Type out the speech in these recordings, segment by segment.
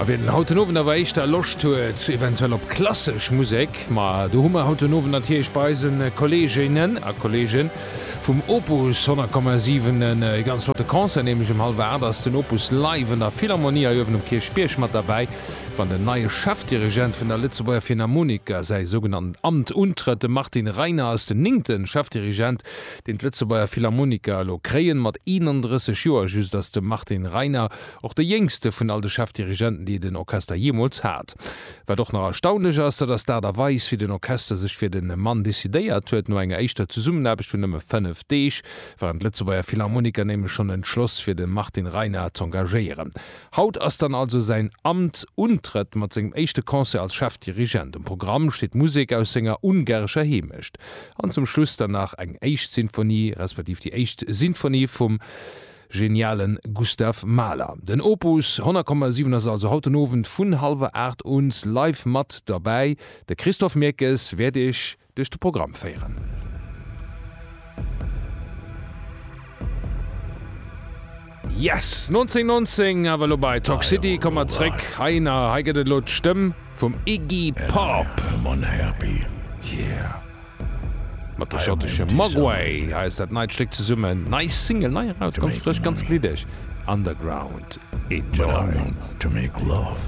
A wien haut den Owend awer éischter Loscht huet eventuell op klassesch Musek, ma do hu mer haut den Owend natierlech bei eise Kolleeginnen a Kolleege vum Opus 100,7 e ganz flotte Concert, nämlech um hallwer 8 ass den Opus live an der Philharmonie hei uewen um Kierchbierg mat derbäi, wann den neie Chefdirigent vun der Lëtzebuerger Philharmoniker säi sougenannten Amt untrëtt. De Martin Reiner ass den néngte Chefdirigent, deen d'Lëtzebuerger Philharmoniker elo kréien. Mat 31 Joer just ass de Martin Reiner Och de jéngste vun all de Chefdirigenten, déi den Orchester jeemools hat. Wat och nach erstaunlech ass, dat ass d'Aart a Weis, wéi den Orchester sech fir de Mann decidéiert huet. No enger éischter Zesummenaarbecht vun nëmme 5 Deeg waren d'Lëtzebuerger Philharmoniker nämlech schonn entschloss, fir de Martin Reinard z'engagéieren. Haut ass dann also säin Amtsuntrëtt mat sengem éischte Concert als Chefdirigent. Um Programm steet Musek aus senger ungarescher Heemecht an zum Schluss dann nach eng éischt Sinfonie, respektiv déi éischt Sinfonie vum Genialen Gustav Mahler. Den Opus 100,7 ass also haut den Owend vun hallwer 8 un live mat derbäi. De Christophe Mirkes wäert iech duerch de Programm féieren. Yes! 1919 awer elo bei Talk City. Komme mer zréck heihinner. Hei gëtt et elo d'Stëmm vum Iggy Pop. Yeah! Mat de schottesche Mogwai. Hei ass dat neit Stéck zesummen. Nei Single, nei eraus, ganz frësch, ganz gliddeg. Underground. Enjoy. To make love.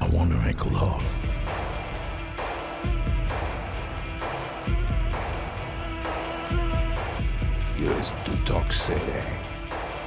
I want to make love. You listen to Talk City.